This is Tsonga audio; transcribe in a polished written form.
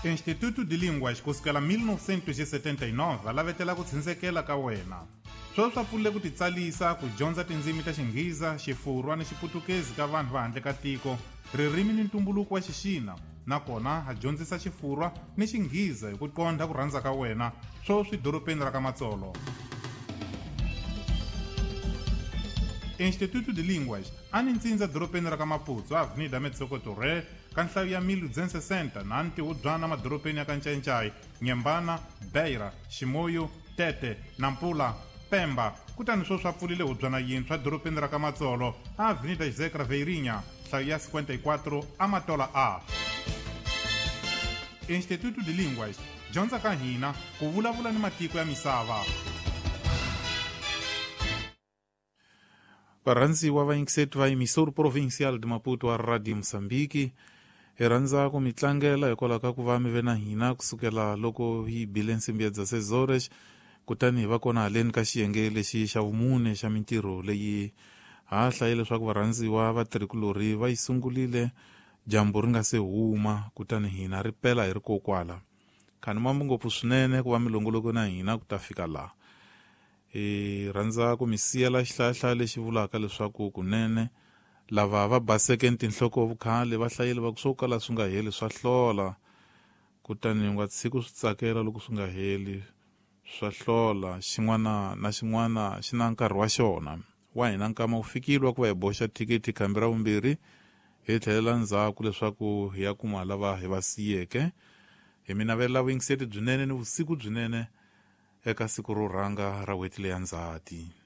Instituto de Línguas kusukela 1979 va lavetela ku tshindzekela ka wena. Sweswi swa pfulile ku titsalisa ku dyondza tindzimi ta Xinghiza, Xifurwa ni Xiputukezi ka vanhu va handle ka tiko, ririmi ni ntumbuluko wa Xixina, nakona ha dyondzisa Xifurwa ni Xinghiza hi ku qondha ku rhandza ka wena, sweswi dorobeni ra ka Matsolo. Instituto de Línguas a ni ntsindza dorobeni ra ka Maputo, Avenida Metsoko Torre, ka nhlayo ya 1260 na ntihubyana madorobeni ya ka Ncayincai, Nyembana, Beira, Chimoio, Tete, Nampula, Pemba, kutani sweswi a pfulile hubyana yintshwa dorobeni ra ka Matsolo, a Avenida José Craveirinha, nhlayo ya 54, Amatola A. Instituto de Línguas, dyondza ka hina ku vulavula ni matiko ya misava. Varhandziwa vayingiseti va emissor provincial de Maputo wa Radio Mozambique, hi rhandza ku mi tlangela hikwalaho ka ku va mi ve na hina kusukela loko hi bile nsimbi ya 16 horas, kutani hi va kona haleni ka xiyenge lexi xa vumune xa mintirho leyi ha hlaye leswaku varhandziwa vatirhikulorhi va yi sungulile dyambu ri nga se huma, kutani hina ri pela hi ri kokwala. Khani mambu ngopfu swinene ku va mi longoloko na hina ku ta fika laha. Hi rhandza ku mi siyela xihlayahlaya lexi vulaka leswaku kunene lava va baseke ni tinhloko vukhale va hlayile va ku swo kala swi nga heli swa hlola, kutani u nga tshiki swi tsakela loko swi nga heli swa hlola. Xin'wana na xin'wana xi na nkarhi wa xona. Wa hina nkama wu fikile wa ku va hi boxa thikithi khambi ra vumbirhi hi tlhelela ndzhaku leswaku hi ya kuma lava hi va siyeke. Hi mi navelela vuyingiseti byinene ni vusiku byinene eka siku ro rhanga ra n'hweti leya Ndzhati.